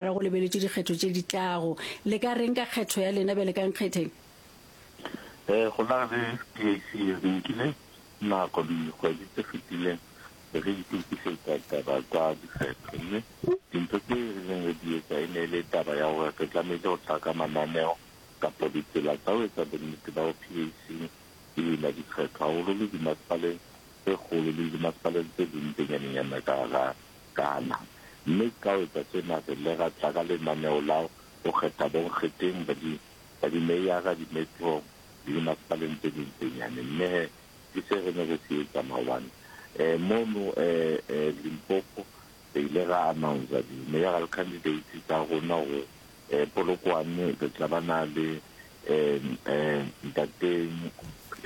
Go lebeletšwe dikgetho tše di tlago. Le ka reng ka kgetho ya lena bjale ka nkgetheng? Go na le PAC re nkile nako dikgwedi tse fetileng re itokišetša taba tša dikgetho mme dintho tse re neng re di etsa e ne e le taba ya gore re tlamehile go tla ka mananeo kapa ditsela tsa ho etsa bonnete ba hore PAC e wina dikgetho haholo le dimasepaleng tse kgolo le dimasepaleng tse ding tse nyanenyana ka hara Kana. Mme ka ho etsa sena, re ile ra tla ka lenaneo la ho kgetha bonkgetheng ba di, ba dimeyara, di-metro le dimasepaleng tse ding tse nyane. Mme he, ke se re ne re se etsa maobane. Eh, mono eh, eh, Limpopo, re ile ra announcer di-mayoral candidates tsa rona hore eh, Polokwane re tla ba na le eh, eh, ntate,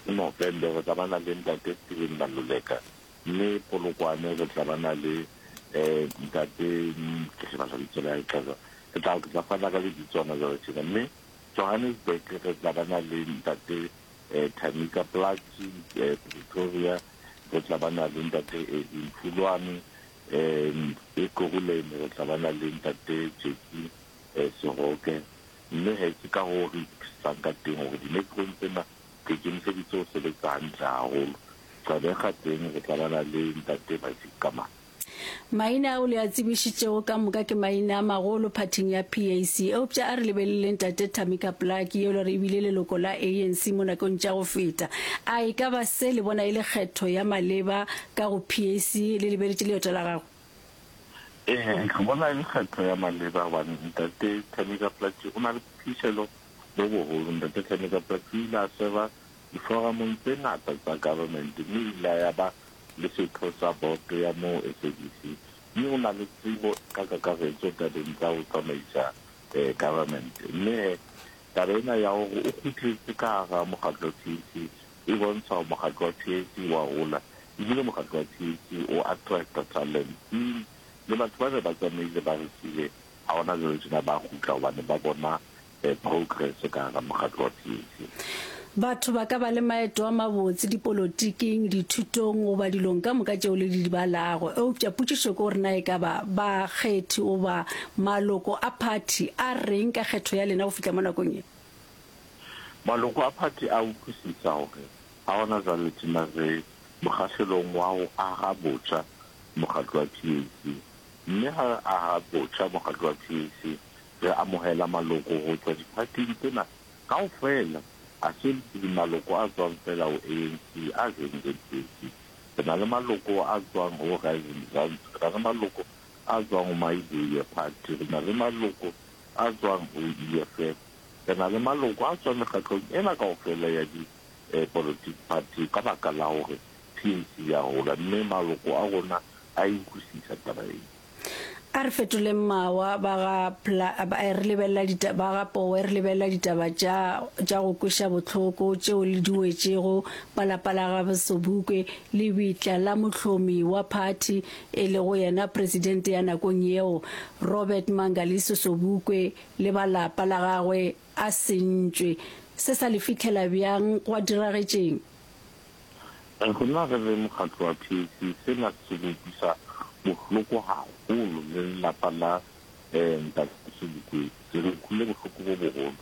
no, Vhembe re tla ba na le ntate Steven Maluleka, Mme Polokwane re tla ba na le ntate, ke lebala lebitso la hae ka jwang, ke tla ke tla fana ka lebitso hona jwale tjena. Mme Johannesburg re tla ba na le ntate Tamika Plaatje, Pretoria re tla ba na le ntate Edwin Phulwane, Ekurhuleni re tla ba na le ntate Jackie Seroke. Mme he ke ka hoo re itokisetsang ka teng hore di-metro-ong tsena Re ikemiseditse ho sebetsa hantle haholo. Gqeberha teng re tla bana le Ntate Isaac Kamane. Maina ao le a tsebišitšego ka moka ke maina a magolo phathing ya PAC. Eupša a re lebeleleng Tate Tamika Plaatje yo e le gore e bile leloko la ANC mo nakong tša go feta. A e ka ba se le bona e le kgetho ya maleba ka go PAC le lebeletše leeto la gagwe? Ee, re bona e le kgetho ya maleba gobane Ntate Tamika Plaatje o na le phihlelo bo boholo. Ntate Thameka Plaatje o ile a serva diforamong tse ngata tsa government mme o ile a ya ba le setho sa boto ya moo SABC mme o na le tsebo ka kakaretso tabeng tsa ho tsamaisa government. Mme he taba ena ya hore o kgutletse ka hara mokgatlo wa PAC e bontsha hore mokgatlo wa PAC wa hola ebile mokgatlo wa PAC o attracta talent le batho ba ne ba tsamaile ba re siile Ha hona jwale tjena ba kgutla hobane ba bona progress ka hara mokgatlo wa PAC. Batho ba ka ba le maeto a mabotse dipolotiking, dithutong goba dilong ka moka tšeo le di balago. Eupša potšišo ke gore na e ka ba bakgethi goba maloko a phathi a reng ka kgetho ya lena go fihla mo nakong ye? Maloko a phathi a utlwisisa gore ga gona jwale tjena re mokgahlelong wa ho aha botjha mokgatlo wa PAC. Mme ha re aha botjha mokgatlo wa PAC, re amohela maloko ho tswa diphathing tsena kaofela. Ha se maloko a tswang feela ho ANC a jointseng PAC. Re na le maloko a tswang ho Rise Mzansi, re na le maloko a tswang ho Mayibuye Party, re na le maloko a tswang ho EFF, re na le maloko a tswang mekgatlong ena kaofela ya dipolotiki party ka baka la hore PAC ya hola mme maloko a rona a e utlwisisa taba ena. A re fetoleng mawa ba ga Pla, ba, re lebelela dita, ba ga Powe, re lebelela ditaba tša, tša go kweša bohloko tšeo le di wetšego ba lapa la ga Sobukwe, lebitla la mohlomi wa phathi e lego yena presidente ya nakong yeo, Robert Mangaliso Sobukwe le ba lapa la gagwe a sentšwe. Se sa le fihlela bjang gwa diragetšeng? Rona re le mokgatlo wa PAC sena se re utlwisa bohloko haholo le lelapa la Ntate Sobukwe re utlwile bohloko bo boholo.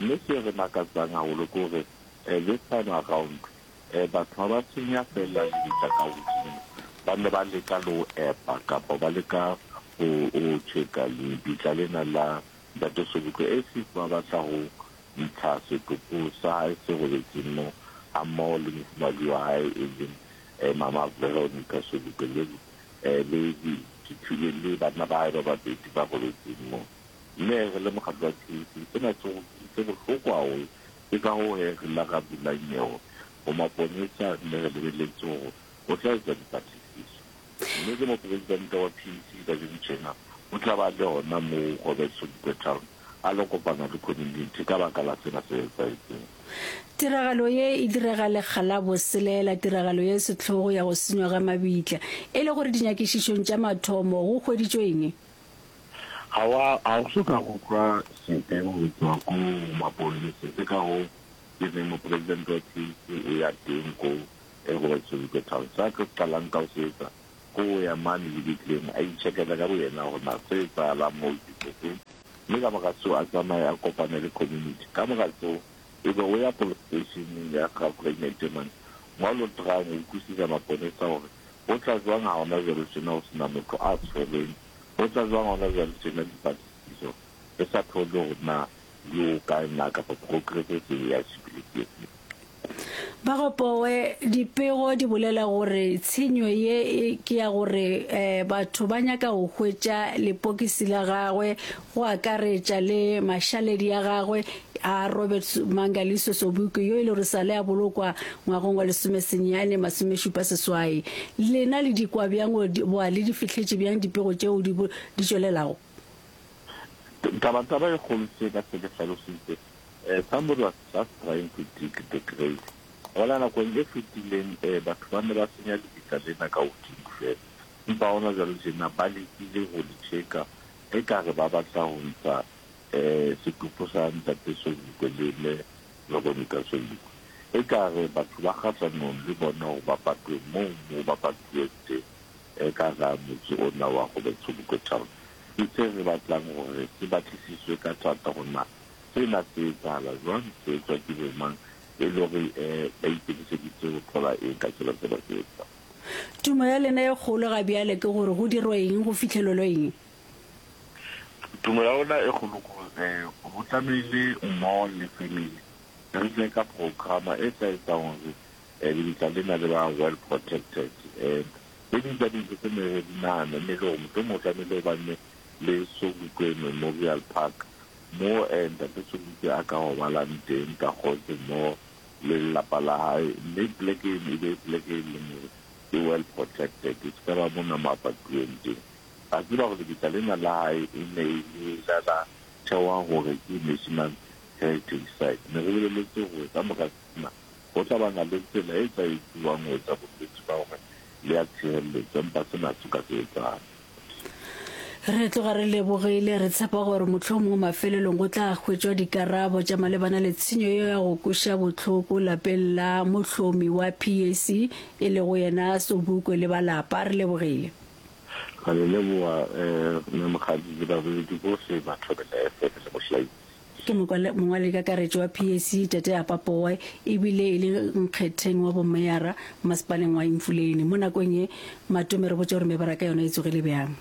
Mme se re makatsang haholo ke hore this time around batho ha ba senya feela lebitla ka hodimo, ba ne ba leka le ho epa kapa ba leka ho tjheka lebitla lena la Ntate Sobukwe as if ba batla ho ntsha setopo sa hae se robetseng moo hammoho le mofumahadi wa hae e leng Mama Veronica Sobukwe le le le banna ba hae ba babedi ba robetseng moo. Mme re le mokgatlo wa PAC sena se se bohloko haholo. Ke ka hoo he re la ra bula nyewe ho maponesa mme re lebelletse hore ho tla etswa dipatlisiso. Mme ke mopresidente wa PAC kajeno tjena o tla ba le hona moo Robert Sobukwe Town a lo kopana le community ka baka la sena se etsahetseng. Tiragalo ye e direga lekga la boselela, tiragalo ye sehlogo ya go senywa ga mabitla. E le gore dinyakišišong tša mathomo go hweditšwe eng? Ga wa, ga o so ka go kwa sepe go tswa ko mapolesa, ke ka hoo ke reng mopresidente wa PAC o ya teng ko Robert Sobukwe Town. Se a tlo qalang ka ho se etsa. Ke go ya mane lebitleng a itšhekela ka boyena gore na se etsahalang moo ke se feng, mme ka morago seo a tsamaye a kopane le community. Ka morago seo e be o ya police station ya Graaff-Reinet mane mo a lo tryang go utlwisisa maponesa gore go tla jwang ha hona jwale tjena ho sena motho a tshwerweng, ho tla jwang hona jwale tjena dipatlisiso re sa thole hore na di ho kae na kapa progress e se e achievile ke efe. Bagopowe, dipego di bolela gore tshenyo ye ke ya gore batho ba nyaka go hwetša lepokisi la gagwe go akaretša le mašaledi a gagwe a Robert Mangaliso Sobukwe yo e le gore sale a bolokwa ngwagong wa lesomesenyane masomešupa-seswai. Lena le di kwa bjang goba le di fihletše bjang dipego tšeo di tšwelelago? Taba-taba e kgolo se ka se ke hlalositse Somebody was just trying to dig the grave. Gona nakong e fetileng batho ba ne ba senya lebitla lena ka godimo fela, empa gona jwale tjena ba lekile go le tjheka ekare ba batla go ntsha setopo sa Ntate Sobukwe le Mme Veronica Sobukwe. Ekare batho ba kgahlanong le bona gore ba patwe moo moo ba patuweng teng ka ga motse ona wa Robert Sobukwe Town. Ke se re batlang gore se batlisiswe ka thata gore na Sena se etsahala jwang? Se etswa ke bomang? E le hore ba ikemiseditse ho thola eng ka sena se ba se etsang? Tumo ya lena e kgolo ga bjale ke gore go dirwe eng, go fihlelelwe eng? Tumo ya rona e kgolo ke gore ho tlamehile mmoho le family re tle ka programa e tla etsang hore lebitla lena le ba well protected. Tse ding tsa dintho tse ne re di nahana e ne e le hore mohlomong ho tlamehile ho bane le Sobukwe Memorial Park Mo Ntate Sobukwe a ka robalang teng ka kgotso mmoho le lelapa la hae, mme poleke eno e be poleke e leng hore e well protected, e se ka ba mona mo a patuweng teng. Ra tseba hore lebitla lena la hae e ne e le la la thewa hore ke National Heritage Site. Ne re boleletse hore ka mora sena ho tla ba na le tsela e tla etsuwang ho etsa bonnete ba hore le ya tshireletswa, empa sena ha se ka se etsahala. Re tloga re lebogile, re tshepa gore mohlomongwe mafelelong go tla hwetšwa dikarabo tša malebana le tshenyo ye ya go kweša bohloko lapeng la mohlomi wa PAC e lego yena Sobukwe le ba lapa. Re lebogile. Ra le leboga Mme Mokgadi le baboledi bohle ba Thobela FM le Mohlaitsi. Ke mongwaledikakaretšo wa PAC Tate Apa Powe ebile e le nkgetheng wa bomeyara masepaleng wa Emfuleni. Mo nakong ye, Matome re botše gore mebaraka yona e tsogile bjang.